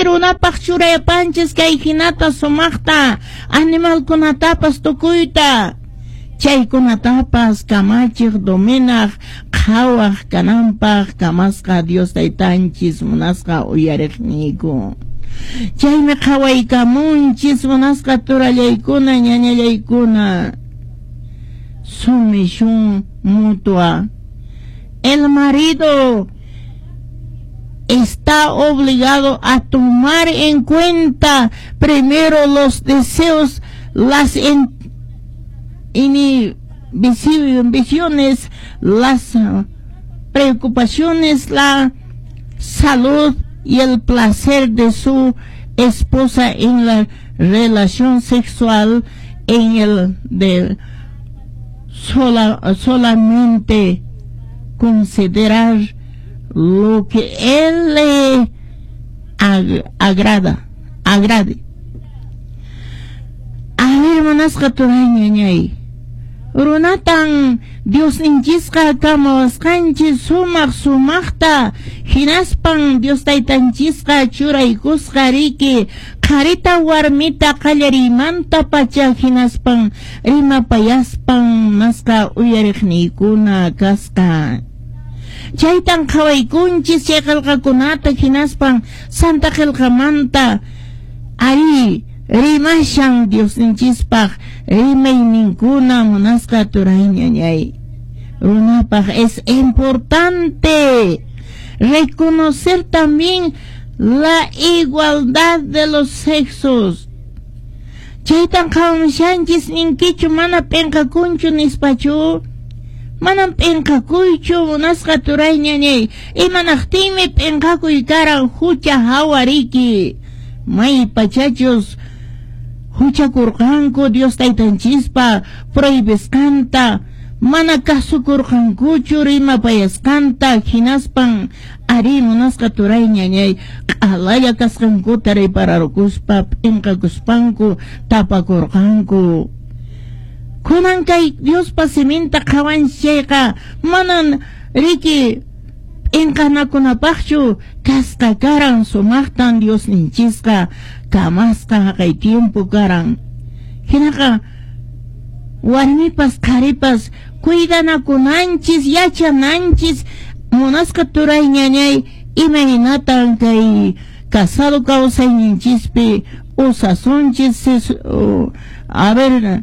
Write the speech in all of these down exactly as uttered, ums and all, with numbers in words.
runapaq churayapanchis kay hinata sumaqta animalkunatapas tukuyta chaykunatapas kamachiq dominaq qhawaq kananpaq kamasqa Dios taytanchis munasqa uyariqniyku. Chaymi qhawaykamunchis munasqa turallaykuna ñañallaykuna. Sumisión mutua. El marido está obligado a tomar en cuenta primero los deseos, las inhibiciones, las preocupaciones, la salud y el placer de su esposa en la relación sexual, en el de sola, solamente considerar lo que él le ag agrada, agrade. A ver, munasqa turay ñañay. Runatan Diosninchisqa kamawasqanchis sumaq sumaqta hinaspan Dios taytanchisqa churaykusqa riki qharita warmita qallariymanta pacha hinaspan rimapayaspan masqa uyariqniykuna kasqa. Chaytan qhawaykunchis chay qillqakunata hinaspan Santa Qillqamanta ari rimashan Diosninchispaq rimayninkuna munasqa turay ñañay. Runapaq es importante reconocer también la igualdad de los sexos. Chaytan qhawamushanchis ninkichu mana p'inqakunchu nispachu. Manam p'inqakuychu munasqa turay ñañay. Imanaqtinmi p'inqakuy karan hucha hawariki. May pachachus huchakurqanku Dios taytanchispa prohibisqanta mana kasukurqankuchu rimapayasqanta hinaspan ari munasqa turay ñañay q'alalla kasqankuta ripararkuspa p'inqakuspanku tapakurqanku. Kunan kay Diospa siminta qhawanchis chayqa manan riki p'inqanakunapaqchu kasqa karan sumaqtan Diosninchisqa kamasqa haqay tiempo karan. Hinaqa warmipas qharipas cuidanakunanchis yachananchis munasqa turay ñañay imaynatan kay casado kawsayninchispi usasunchis a ver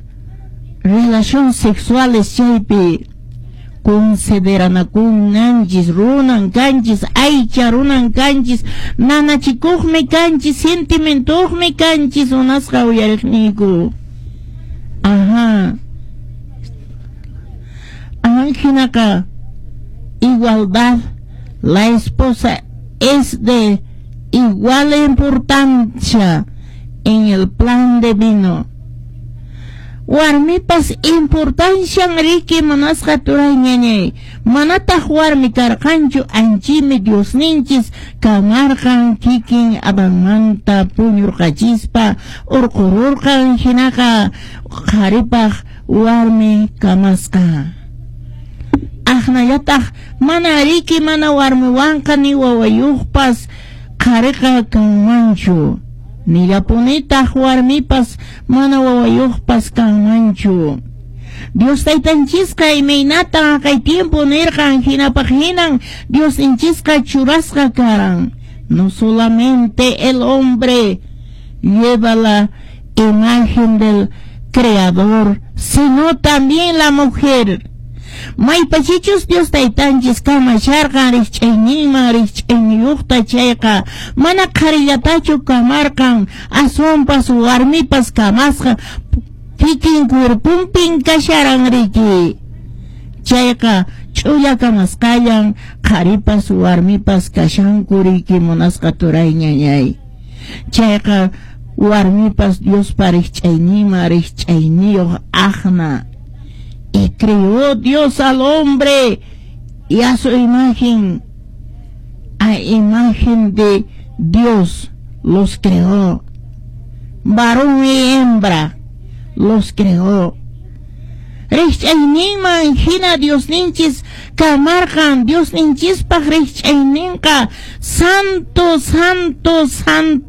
relación sexuales chaypi consideranakunanchis runan kanchis aycha runan kanchis nanachikuqmi kanchis sentimentuqmi kanchis munasqa uyariqniyku. Ajá. Hinaqa igualdad, la esposa es de igual importancia en el plan divino. Warmipas importancian riki munasqa turay ñañay. Manataq warmi karqanchu anchimi Diosninchis kamarqan kikin Adanmanta puñurqachispa urqururqan hinaqa qharipaq warmi kamasqa. Aqnallataq mana riki mana warmiwanqa ni wawayuqpas qhariqa kanmanchu. Nillapunitaq warmipas mana wawayuqpas kanmanchu. Dios taytanchisqa imaynatan kay tiempo nirqan hinapaq hinan Diosninchisqa churasqa karan. No solamente el hombre lleva la imagen del Creador, sino también la mujer. Maypachichus Dios taytanchis kamasharqan rikch'ayninman rikch'ayniyuqta chayqa mana qharillatachu kamarqan aswanpas warmipas kamasqa kikin cuerpunpin kasharan riki. Chayqa ch'ulla kamasqallan qharipas warmipas kashanku riki munasqa turay ñañay. Chayqa warmipas Diospa rikch'ayninman rikch'ayniyuq aqna. Y creó Dios al hombre y a su imagen, a imagen de Dios los creó. Varón y hembra los creó. Rikch'ayninman hina Diosninchis kamarqan Diosninchispaq rikch'ayninqa santo, santo, santo.